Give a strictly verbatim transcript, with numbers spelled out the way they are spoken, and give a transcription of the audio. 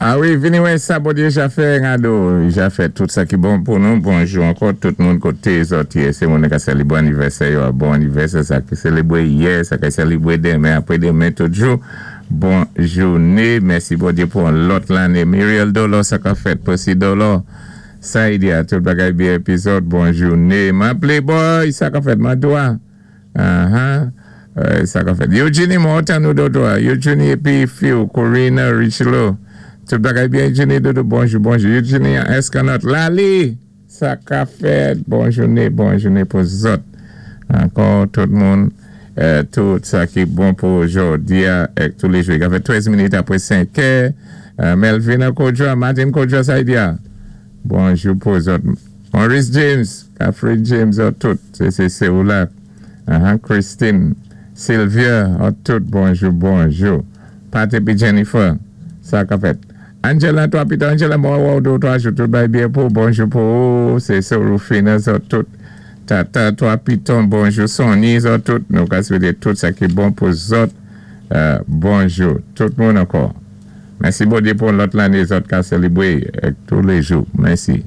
A wi, vini wè sa Bondyé ja fè ngado, ja fè tout sa ki bon pou nou. Bonjou ankò tout moun koté zòt yé. Sé moun ka sélébwé anivèsè yo, bon anivèsè sa ki sélébwé yè, sa ki sélébwé denmen, apwé denmen toujou. Bon jouné, mèsi Bondyé pou an lòt lanné. Muriel Dolo, sa ka fèt, Posi Dolo, Saïdia, tout bagay byen épi zòt, bon jouné. Man Playboy, sa ka fèt, man dwa. Uh-huh. Euh, sa ka fèt. Eugenie, mwen tann ou dodo. Eugenie épi Phil, Corina, Richelo. Tout bagay byen, Eugenie, dodo, bonjou, bonjou. Eugenie, Escanot, Lali, sa ka fèt, bon jouné, bon jouné pou zòt. Ankò, tout moun, euh, tout sa ki bon pou jòdi a, èk tou lé jou. I ka fè trèz minit apwé senk è. Euh, Melvina Kodja, Martin Kodja, Saïdia. Bonjou pou zòt. Maurice James, Catherine James, zòt tout. Sé, sé, sé ou la. Uh-huh. Christine, Sylvia, zòt tout, bonjou, bonjou. Pat épi Jennifer, sa ka fèt. Angela, twa pito, Angela, mwen wè ou dé twa jou, tout bay byen pou, bonjou pou ou, sé so Rufina, zòt tout. Tata, twa piton, bonjou, Sonny, zòt tout, nou ka swété tout sa ki bon pou zòt, euh, bonjou, tout moun ankò. Mèsi Bondyé pou lòt lanné zòt ka sélébwé tou lé jou. Mèsi.